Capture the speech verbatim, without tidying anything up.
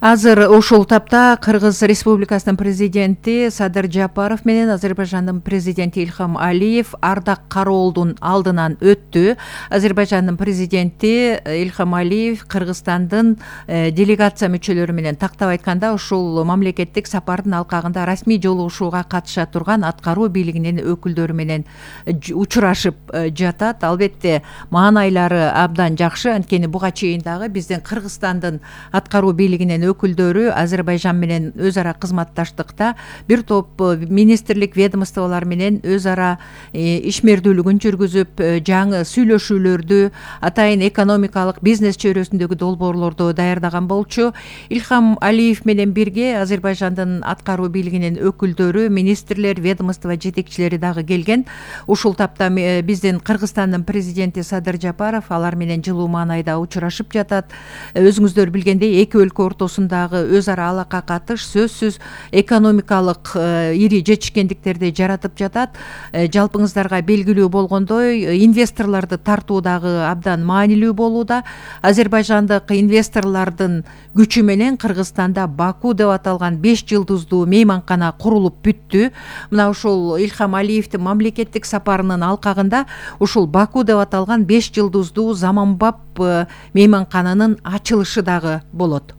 Азыр ушул тапта Кыргыз Республикасынын президенти Садыр Жапаров менен Азербайжандын президенти Ильхам Алиев ардак кароолдун алдынан өттү. Азербайжандын президенти Ильхам Алиев Кыргызстандын делегация мүчөлөрү менен тактап айтканда ушул мамлекеттик сапардын алкагында расмий жолугушууга катыша турган аткаруу бийлигинин өкүлдөрү менен учурашып жатат. Албетте маанайлары абдан жакшы, анткени буга чейин дагы биздин Кыргызстандын аткаруу бийлигинин өкүлдөрү Азербайжан менен өз ара кызматташтыкта бир топ министрлик ведомстволор менен өз ара ишмердүүлүгүн жүргүзүп, жаңы сүйлөшүүлөрдү, атайын экономикалык бизнес чөйрөсүндөгү долбоорлорду даярдаган болчу. Ильхам Алиев менен бирге Азербайжандын аткаруу бийлигинин өкүлдөрү, министрлер, ведомство жетекчилери дагы келген. Ушул тапта биздин Кыргызстандын президенти Садыр Жапаров алар менен жылуу маанайда учурашып жатат. Өзүңүздөр билгендей, эки өлкө ортосундагы өз ара алака катыш сөзсүз экономикалык ири жетишкендиктерди жаратып жатат. Жалпыңыздарга белгилүү болгондой, инвесторлорду тартуу дагы абдан маанилүү болууда. Азербайжандык инвесторлордун күчү менен Кыргызстанда Баку деп аталган беш жылдыздуу мейманкана курулуп бүттү. Мына ушул Ильхам Алиевдин мамлекеттик сапарынын алкагында ушул Баку деп аталган беш жылдыздуу заманбап мейманкананын ачылышы дагы болот.